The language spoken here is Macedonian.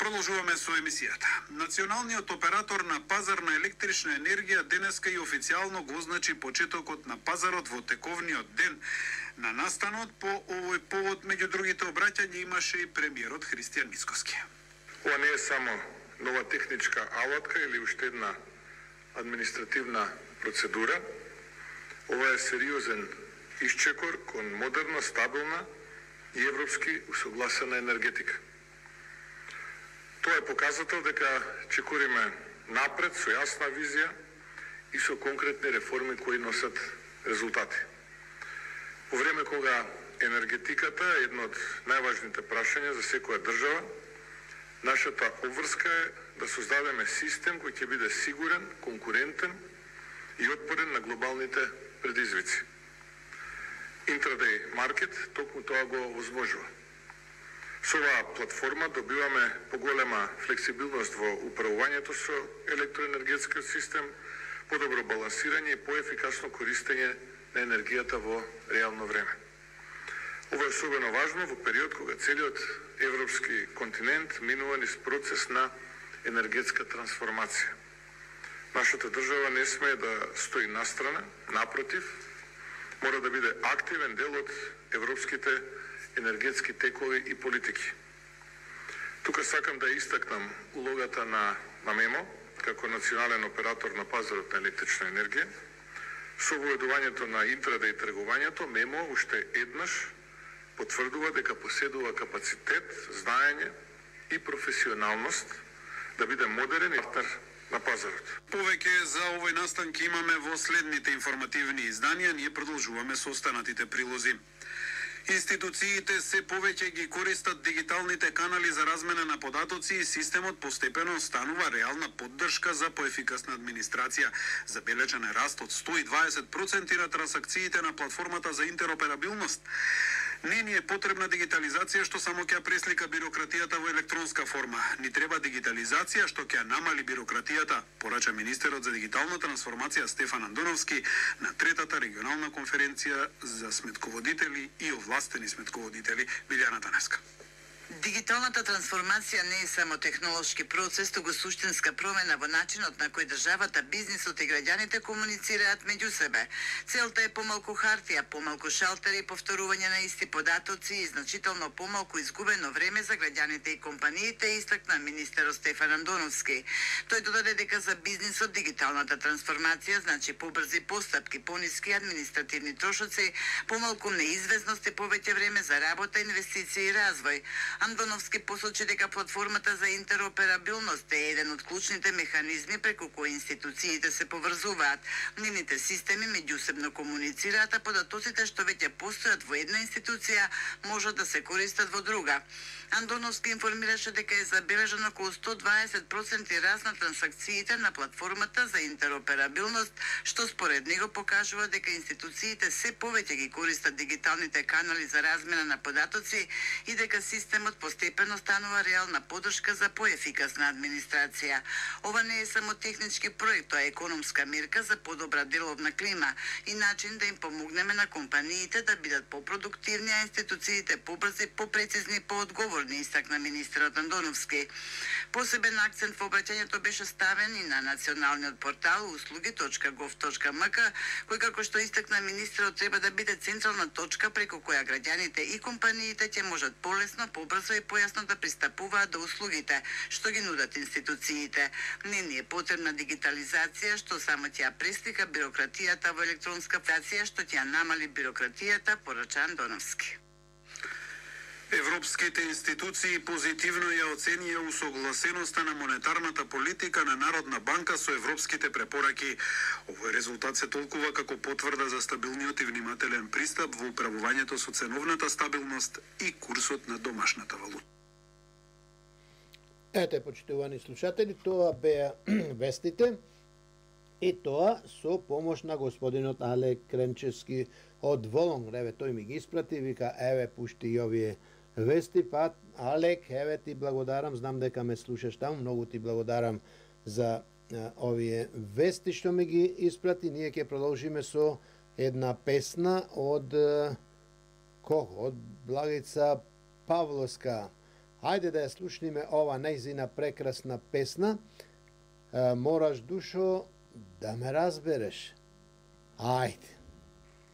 Продолжуваме со емисијата. Националниот оператор на пазар на електрична енергија денеска и официјално го означи почетокот на пазарот во тековниот ден на настанот. По овој повод, меѓу другите обраќања, имаше и премиерот Христијан Мицкоски. Ова не е само нова техничка алатка или уште една административна процедура. Ова е сериозен исчекор кон модерна, стабилна и европски усогласена енергетика. Тоа е показател дека чекориме напред со јасна визија и со конкретни реформи кои носат резултати. Во време кога енергетиката е едно од најважните прашања за секоја држава, нашата обврска е да создадеме систем кој ќе биде сигурен, конкурентен и отпорен на глобалните предизвици. Intraday Market токму тоа го возможува. Со оваа платформа добиваме поголема флексибилност во управувањето со електроенергетскиот систем, подобро балансирање и поефикасно користење на енергијата во реално време. Ова е особено важно во период кога целиот европски континент минува низ процес на енергетска трансформација. Нашата држава не смее да стои настрана, напротив, мора да биде активен дел од европските енергетски текови и политики. Тука сакам да истакнам улогата на МЕМО како национален оператор на пазарот на електрична енергија. Со воедувањето на интрадеј тргувањето, МЕМО уште еднаш потврдува дека поседува капацитет, знаење и професионалност да биде модерен и партнер на пазарот. Повеќе за овој настанки имаме во следните информативни изданија. Ние продолжуваме со останатите прилози. Институциите се повеќе ги користат дигиталните канали за размена на податоци и системот постепено станува реална поддршка за поефикасна администрација. Забележан е раст од 120% на трансакциите на платформата за интероперабилност. Не ни е потребна дигитализација што само ќе преслика бирократијата во електронска форма. Ни треба дигитализација што ќе намали бирократијата, порача министерот за дигитална трансформација Стефан Андоновски на третата регионална конференција за сметководители и овластени сметководители Билјана Танеска. Дигиталната трансформација не е само технолошки процес, туку суштинска промена во начинот на кој државата, бизнисот и граѓаните комуницираат меѓу себе. Целта е помалку хартија, помалку шалтери, повторување на исти податоци и значително помалку изгубено време за граѓаните и компаниите, истакна министерот Стефан Андоновски. Тој додаде дека за бизнисот дигиталната трансформација значи побрзи постапки, пониски административни трошоци, помалку неизвестност и повеќе време за работа, инвестиции и развој. Андоновски посочи дека платформата за интероперабилност е еден од клучните механизми преку кои институциите се поврзуваат. Нивните системи меѓусебно комуницираат, а податоците што веќе постојат во една институција можат да се користат во друга. Андоновски информираше дека е забележано околу 120% раст на трансакциите на платформата за интероперабилност, што според него покажува дека институциите се повеќе ги користат дигиталните канали за размена на податоци и дека системот постепено станува реална поддршка за поефикасна администрација. Ова не е само технички проект, тоа е економска мерка за подобра деловна клима и начин да им помогнеме на компаниите да бидат попродуктивни, а институциите побрзи, попрецизни, поодговорни, истакна министерот Андоновски. Посебен акцент во обраќањето беше ставен и на националниот портал услуги.gov.mk, кој како што истакна министерот треба да биде централна точка преку која граѓаните и компаниите ќе можат полесно, побрзо и појасно да пристапуваат до услугите што ги нудат институциите. Не ни е потребна дигитализација што само ќе преслика бирократијата во електронска фација, што ќе намали бирократијата, порача Андоновски. Европските институции позитивно ја оценија усогласеноста на монетарната политика на Народна банка со европските препораки. Овој резултат се толкува како потврда за стабилниот и внимателен пристап во управувањето со ценовната стабилност и курсот на домашната валута. Ете, почитувани слушатели, тоа беа вестите и тоа со помош на господинот Алек Кренчевски од Волон. Еве, тој ми ги испрати, вика, еве, пушти и овие вести, па Алек, еве ти благодарам, знам дека ме слушаш таму, многу ти благодарам за овие вести што ми ги испрати. Ние ќе продолжиме со една песна од кого? Од Благица Павловска. Хајде да ја слушниме ова нејзина прекрасна песна. Мораш, душо, да ме разбереш. Ајде.